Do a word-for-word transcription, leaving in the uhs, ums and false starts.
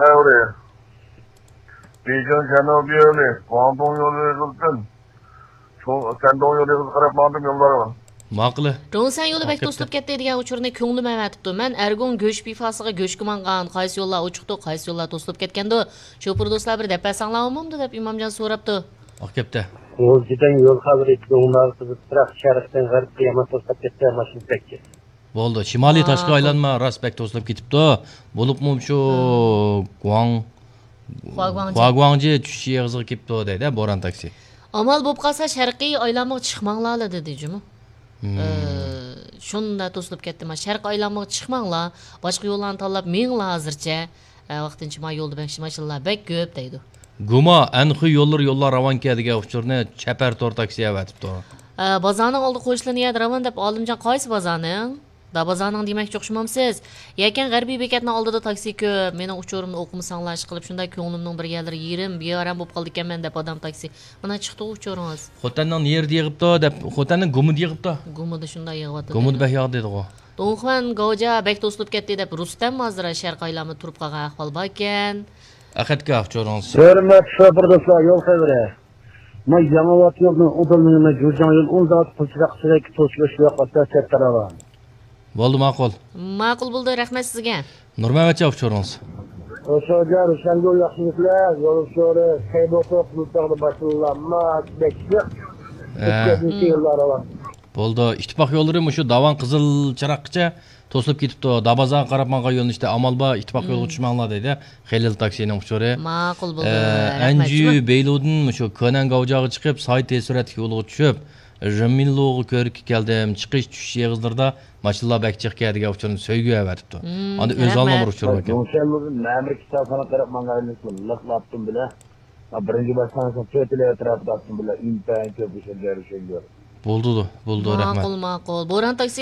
خەۋىرى. بېيجىڭ شەنناۋ يولى، گۇاڭدۇڭ يولى ئېغىزىدىن، شۇ، شەندۇڭ يولى ئېغىزىغا قاراپ ماڭدىم يوللارغا. ماقۇل. جۇڭسەن يولى بەك توسۇلۇپ كەتتى دېگەن ئۇچۇرنى كۆڭلۈم ئەۋەتىپتۇ. مەن ئەرگۇڭ گۆش پىفاسىغا گۆشكە ماڭغان، قايسى يوللار ئوچۇقتۇ، قايسى يوللار توسۇلۇپ كەتكەندۇ؟ شوپۇر دوستلار بىر دەپ بەرسەڭلار بولمامدۇ دەپ ئىمامجان سوراپتۇ. ئاق كەپتە. غۇلجىدىن يول خەۋىرى، گۇڭنار قىزىپ تۇراق، شەرقتىن غەربكە يامان توسۇلۇپ كەتتى، ماشىنا بەك جىق. بولدى. شىمالىي تاشقى ئايلانما راست بەك توسۇلۇپ كېتىپتۇ. بولۇپمۇ شۇ گۇاڭ، خۇاگۇاڭجى. خۇاگۇاڭجى چۈشۈش ئېغىزىغا كېلىپتۇ دەيدۇ، بوران تاكسى. ئامال بولۇپ قالسا شەرقىي ئايلانمىغا چىقماڭلار دېدى جۇمۇ. ئە، شۇنداق توسۇلۇپ كەتتى. ما شەرقىي ئايلانمىغا چىقماڭلار، باشقا يوللارنى تاللاپ مېڭىڭلار ھازىرچە. ئە، ۋاقتىنچە ما يولدا ماشىنىلار بەك كۆپ دەيدۇ. گۇما، ئەنخۇي يوللىرى يوللار راۋانكەن دېگەن ئۇچۇرنى چەپەر تور تاكسى ئەۋەتىپتۇ. ئە، بازارنىڭ ئالدى قوشۇلىدىغان يەردە راۋان دەپ ئالىمجان قايسى بازارنىڭ؟ دا بازارنىڭ دېمەكچى ئوخشىمامسىز؟ يەكەن غەربىي بېكەتنىڭ ئالدىدا تاكسى كۆپ. مېنىڭ ئۇچۇرۇمنى ئوقۇمىساڭلار ئىشقىلىپ شۇنداق كۆڭلۈمنىڭ بىر يەرلىرى يېرىم، بىئارام بولۇپ قالىدىكەنمەن دەپ ئادام تاكسى. مانا چىقتى ئۇچۇرىڭىز. خوتەننىڭ نېرىدە يىغىپتۇ دەپ، خوتەننىڭ گۇمىدا يىغىپتۇ. گۇمىدا شۇنداق يىغىۋاتىدۇ. گۇمىدا بەك ياغدى دېدىغۇ. دۇڭخۇەن گاۋجا بەك توسۇلۇپ كەتتى دەپ رۇستەم ھازىر شەرقىي ئايلانما تۇرۇپ قالغان ئەھۋال باركەن. ئەخەتكە ئۇچۇرىڭىز. ھۆرمەتلىك شوپۇر دوستلار، يول خەۋىرى. ما ياڭىۋات يولىنىڭ ئۇدۇل مېڭىمەن جۇجاڭ يول ئۇزاق پۇلچىراق سۈرەك توسۇلۇش يوق ئاستا چەت تەرەۋا. بولدى، ماقۇل. ماقۇل بولدى، رەھمەت سىزگە. نۇرمەمەتجان ئۇچۇرىڭىز. ئۇچۇرجان رۇشەنگۈل ياخشىمۇسىلەر؟ يول ئۇچۇرى خەيبوتوق مۇتاغدا باشلىنىلار. ما بەكلىك. ھە. ئۆتكەندىكى يوللار راۋان. بولدى. ئىتتىپاق يوللىرى مۇشۇ داۋان قىزىل چىراغقىچە توسۇلۇپ كېتىپتۇ. دابازاغا قاراپ ماڭغان يۆنىلىشتە ئامال بار، ئىتتىپاق يولغا چۈشمەڭلار دەيدۇ. خېلىل تاكسىنىڭ ئۇچۇرى. ماقۇل بولدى. ئە، رەھمەت. ئەنجۈ بەيلۇدىن مۇشۇ كۆنەن گاۋجاغا چىقىپ، ساي تېز سۈرئەتلىك يولغا چۈشۈپ، رېمىنلۇغا كۆرۈككە كەلدىم. چىقىش، چۈشۈش ئېغىزلىرىدا ماشىنىلار بەك جىقكەن دېگەن ئۇچۇرنى سۆيگۈ ئەۋەتىپتۇ. ئاندىن ئۆزى ئالما بىر ئۇچۇر باركەن. جۇڭشەنلۇدىن مەمۇرىي كىتابخانىغا قاراپ ماڭغان يۆنىلىشتە لىق لاپتىم بىلەن. بىرىنچى باشلانغۇچنىڭ تۆت ئېلى ئەتراپىدا ئاپتىم بىلەن ئىنتايىن كۆپ ئۇچۇر. ماقۇل، ماقۇل. بوران تاكسى